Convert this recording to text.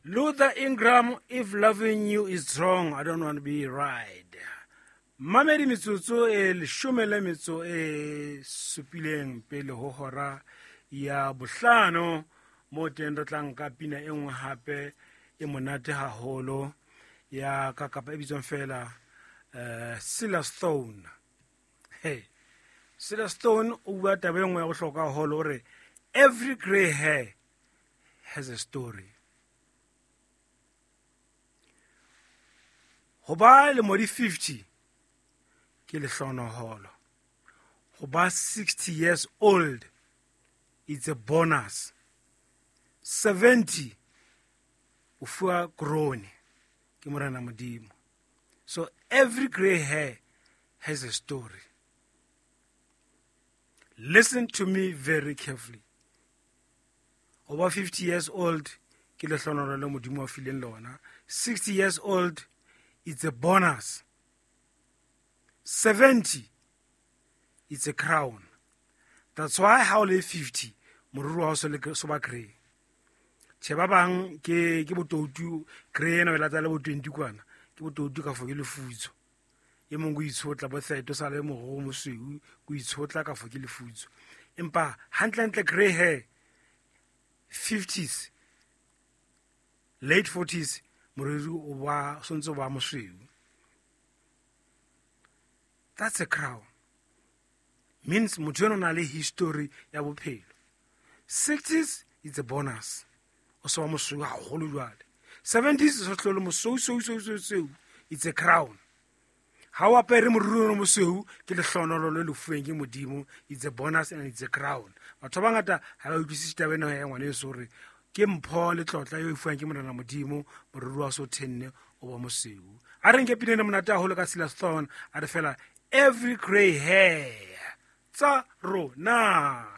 Luther Ingram, if loving you is wrong, I don't want to be right. Mamedi metsotso e leshome le metso e supileng pele ho hora ya bohlano, mo teng re tla nka pina e nngwe hape e monate haholo ya ka kapa e bitswang fela Silas Stone. Hey, Silas Stone o bua taba e nngwe ya bohlokwa haholo, o re every grey hair has a story. Ho ba lemo di 50 ke lehlonoholo, ho ba 60 years old it's a bonus, 70 o fuwa krone ke Morena Modimo. So every grey hair has a story. Listen to me very carefully. Over 50 years old ke lehlonoholo le Modimo a fileng lona. 60 years old it's a bonus. 70 it's a crown. That's why ha o le 50 moriri wa hao so le so ba grey. Tjhe, ba bang ke botoutu, grey ena o e lata le bo 20 kwana, ke botoutu ka fo ke lefutso. E mong o itshotla bo 30 o sa le moriri o mosweu, o itshotla ka fo ke lefutso. Empa hantlentle grey hair 50s, late 40s, moriri o ba sontse o ba mosweu. That's a crown. Means motho eno o na le history ya bophelo. 60s it's a bonus. O se wa mosweu haholo jwale. 70s o se hlole mosweu, sweu, sweu, sweu, sweu. It's a crown. Ha o apere moriri o mosweu ke lehlohonolo le lefuweng ke Modimo. It's a bonus and it's a crown. Batho ba bangata ha ba utlwisise taba ena ya ngwaneso hore ke mpho le tlotla eo e fuwang ke Morena Modimo, moriri wa so thenne o ba mosweu. A re nke pina ena monate haholo ka Silas Thorne, a re fela every grey hair tsa rona.